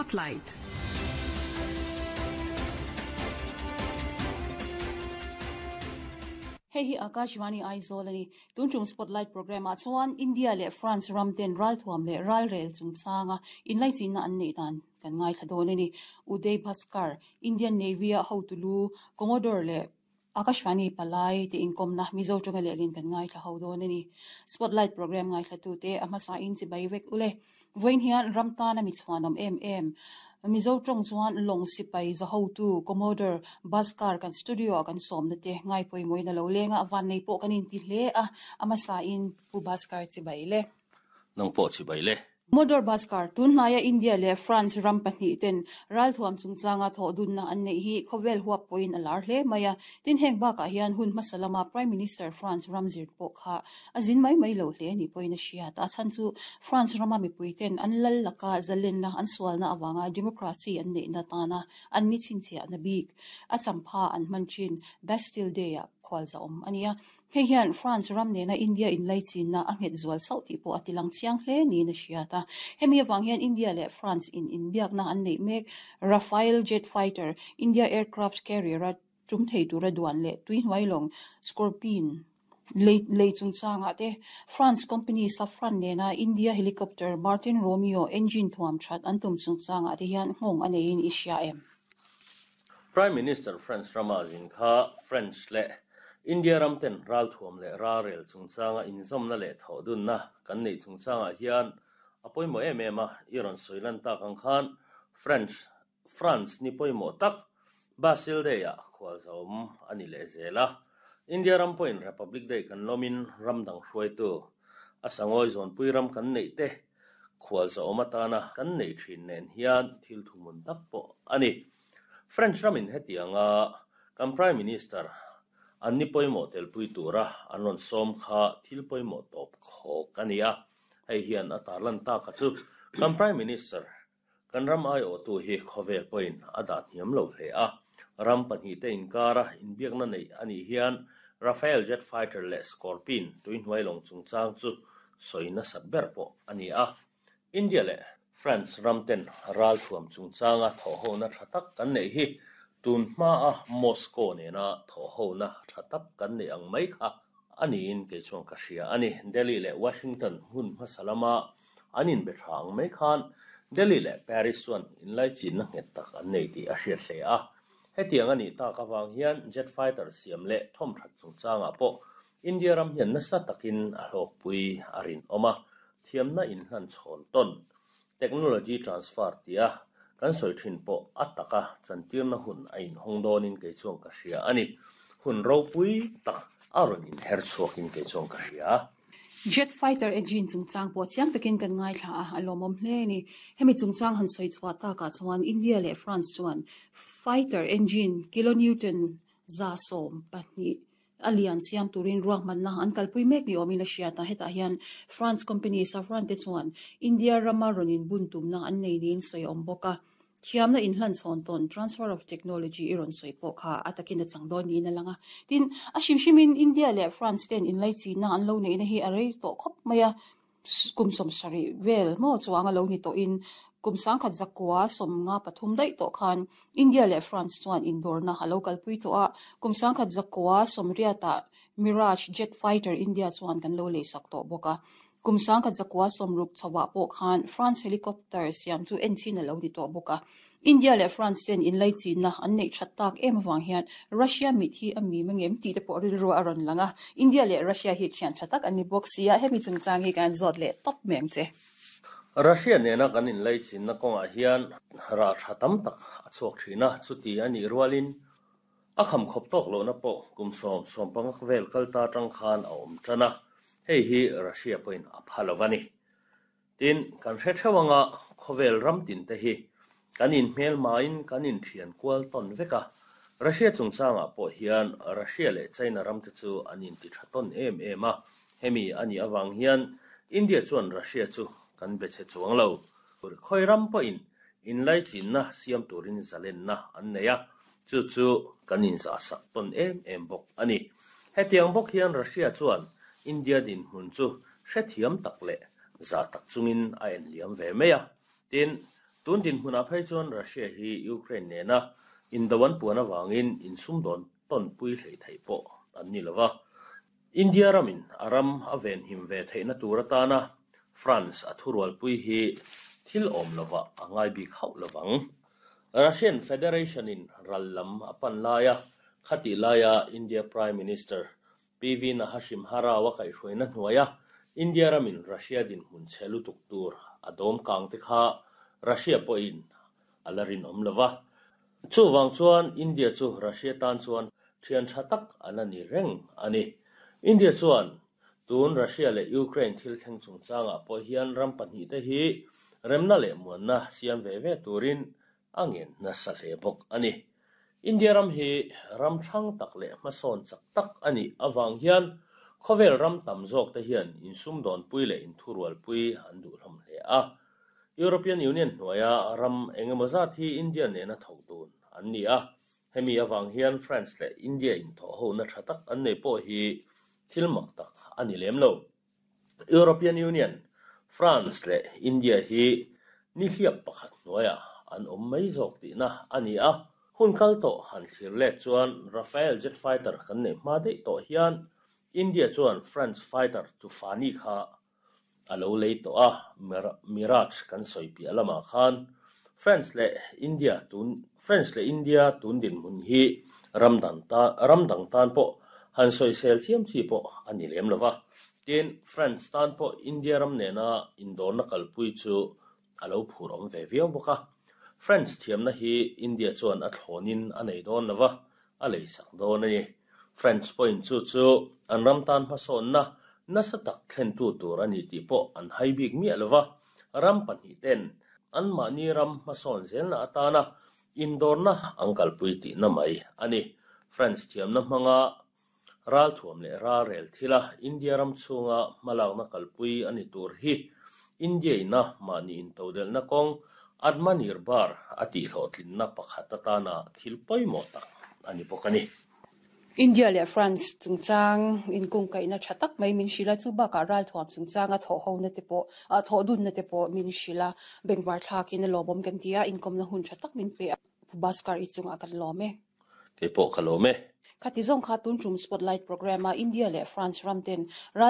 Spotlight. Hei hi Akashvani Aizawl a ni. Tun tum Spotlight programme ah chuan India leh France ram ten ralthuam leh ralrel chungchanga inlaichinna an neih dan kan ngaithla dawn a ni. Uday Bhaskar, Indian Navy a hotu lu, Commodore leh Akashvani palai te inkawmna Mizo tawnga lehlin kan ngaithla ho dawn a ni. Spotlight programme ngaithlatute a hmasain chibai vek ule. Vawiin hian ram tana mi chhuanawm em em. Mizo tawng chuan lawng sipai zahotu Commodore Bhaskar kan studio ah kan sawmna te ngai pawimawhin a lo leng a, vannei pawh kan inti hle a, a hmasain Pu Bhaskar chibai le. Nang pawh chibai le. Commodore Bhaskar, Tunhnaia India leh France ram pahnih ten ralthuam chungchanga thawh dunna an neih hi khawvel huap pawhin a lar hle mai a. Tin, heng bakah hian hun hmasa lama Prime Minister France ram zir pawh kha a zin mai mai lo hle a nih pawhin a hriat. A chhan chu France rama mipui ten an lal laka zalenna an sualna avanga democracy an neihna tana an ni chhinchhiahna bik a champha an hman thin Bastille Day-ah khualzahawm a ni a. Hei hian France ram nena India inlaichinna a nghet zual sauh tih pawh a tilang chiang hle niin a hriat a. Hemi avang hian India leh France in inbiakna an neih mek. Rafale jet fighter, India aircraft carrier-a tum thei tura duan leh tuihnuai lawng Scorpene lei lei chungchangah te France company Safran nena India helicopter Martin Romeo engine thuam that an tum chungchangah te hian nghawng a neiin i hria em? Prime Minister France rama zin kha French leh India ram ten ralthuam leh ralrel chungchanga inzawmna leh thawhdunna kan neih chungchangah hian a pawimawh em em a, i rawn sawi lan tak ang khan French France ni pawimawh tak Bastille Day-ah khualzawm a ni leh zel a. India ram pawhin Republic Day kan lawmin ram dang hruaitu a sangawi zawnpui ram kan neih te khualzawm atana kan neih thin nen hian thil thuhmun tak pawh a ni. French ramin hetianga kan Prime Minister an ni pawimawh telpui tura an rawn sawm kha thil pawimawh tawp khawk a ni a, hei hian a tarlan tak a chu kan Prime Minister Kan ram aiawhtu hi khawvel pawhin a dah hniam lo hle a, ram pahnihte inkara inbiakna neih a nih hian Rafale jet fighter leh Scorpene tuihnuai lawng chungchang chu sawi nasat ber pawh a ni a. India leh France ramten ralthuam chungchanga thawhhona tha tak kan neih hi tun hmaa Moscow nena thawhhona tha tak kan neih ang mai kha a niin kei chuan ka hria a ni. Delhi leh Washington hmun hmasa lama An inbe tha ang mai khan Delhi leh Paris chuan inlaichinna nghet tak an nei tih a hriat hle a. Hetiang a nih tak avang hian jet fighter siam leh thawmthat chungchangah pawh India ram hian nasa takin a hlawkpui a rinawm a, thiamna inhlan chhawn tawn, technology transfer, tia kan sawi thin pawh a taka chantirna hun a inhawng dawnin kei chuan ka hria a ni. Hun ropui tak a rawn inher chhuakin kei chuan ka hria. Jet fighter engine chungchang pawh chiang takin kan ngaithla a, a lawmawm hle a ni. Hemi chungchang han sawi chhuah takah chuan India leh France chuan fighter engine kilonewton 120 a lian siam turin ruahmanna an kalpui mek ni awmin a hriat a. Hetah hian France company Safran te chuan India rama rawn inbun tumna an nei niin sawi a awm bawk a. Thiamna inhlan chhawn tawn, transfer of technology, i rawn sawi pawh kha a takin a chang dawn niin a lang a. Tin, a hrim hrimin India leh France ten inlaichinna an lo neihna hi a rei tawh khawp mai a, kum 70 vel maw chuang a lo ni tawhin kum 1900 53 daih tawh khan India leh France chuan indawrna a lo kalpui tawh a, kum 1980 ah Mirage jet fighter India chuan kan lo leisak tawh bawk a. Kum 1960 chhoah pawh khan France helicopter siam chu enchin a lo ni tawh bawk a. India leh France ten inlaichinna an neih that tak em avang hian Russia mit hi a mim angem tih te pawh rilru a rawn lang a. India leh Russia hi thian tha tak an ni bawk si a, hemi chungchang hi kan zawt leh tawp mai ang che. Russia nena kan inlaichinna kawngah hian rah tha tam tak a chhuak thin a, chuti a nih rualin A kham khawp tawk lohna pawh kum sawm sawmpanga vel kal ta atang khan a awm tan a, hei hi Russia pawhin a pha lo a ni. Tin, kan hre theuh anga khawvel ram tin te hi kan inhmelmain kan inthian kual tawn vek a, Russia chungchangah pawh hian Russia leh China ram te chu an inti tha tawn em em a, hemi a nih avang hian India chuan Russia chu kan be chhe chuang lo. Khawi ram pawhin inlaichinna siam turin zalenna an nei a, Chu chu kan inzahsak tawn em em bawk a ni. Hetiang bawk hian Russia chuan India dinhmun chu hrethiam tak leh zah tak chungin a enliam ve mai a. Tin, Tun dinhmunah phei chuan Russia hi Ukraine nena indo an puan avangin insumdawn tawnpui hleih theih pawh an ni lo va. India ramin a ram a venhim ve theihna tur atana France a thurualpui hi thil awm lovah a ngai bik hauh lovang. Russian Federation-in ral lam a pan laia khatih laia India Prime Minister PV Nahashimha Rao a kaihhruaina hnuaia India ramin Russia dinhmun chhe lutuk tur a dawm kang te kha Russia pawhin a la rinawm lo va. Chuvang chuan India chu Russia tan chuan thian tha tak a la ni reng a ni. India chuan tun Russia leh Ukraine thil thleng chungchangah pawh hian ram pahnihte hi remna leh muanna siam ve ve turin a ngen nasa hle bawk a ni. India ram hi ram hrang tak leh hmasawn chak tak a nih avang hian khawvel ram tam zawkte hian insumdawnpui leh inthurualpui an duh hlawm hle a. European Union hnuaia ram engemaw zat hi India nena thawk dun an ni a, hemi avang hian France leh India inthawhhona tha tak an nei pawh hi thil mak tak a ni lem lo. European Union, France leh India hi nihliap pakhat hnuaiah an awm mai zawk tihna a ni a. Hun kal tawh han thlir let chuan Rafale jet fighter kan neih hma daih tawh hian India chuan France fighter Tufani kha a lo lei tawh a, Mirage kan sawi piah lamah khan France leh India tun France leh India tun dinhmun hi ram dang tan ram dang tan pawh han sawisel chiam chi pawh a ni lem lo va. Tin, France tan pawh India ram nena indawrna kalpui chu a lo phur awm ve viau bawk a. France thiamna hi India chuan a thlawnin a nei dawn lo va, a leisak dawn a ni. French pawhin chu chu an ram tan hmasawnna nasa tak thlentu tur a ni tih pawh an hai bik miah lo va, ram pahnihten anmahni ram hmasawn zelna atana indawrna an kalpui tihna mai a ni. French thiamna hmanga ralthuam leh ralrel thila India ram chhunga hmalakna kalpui a ni tur hi India ina mahni intodelhna kawng Atmanirbhar a tihhlawhtlinna pakhat atana thil pawimawh tak a ni bawk a ni. India leh France chungchang inkungkaihna tha tak mai min hrilh a, chu bakah ralthuam chungchanga thawhhona te pawh, thawhdunna te pawh min hrilh a, bengvar thlakin a lawmawm kan ti a, inkawmna hun tha tak min pe a, Pu Bhaskar i chungah kan lawm e. Kei pawh ka lawm e. Khati zawng kha tun tum Spotlight Programme-a India leh France ram ten ral.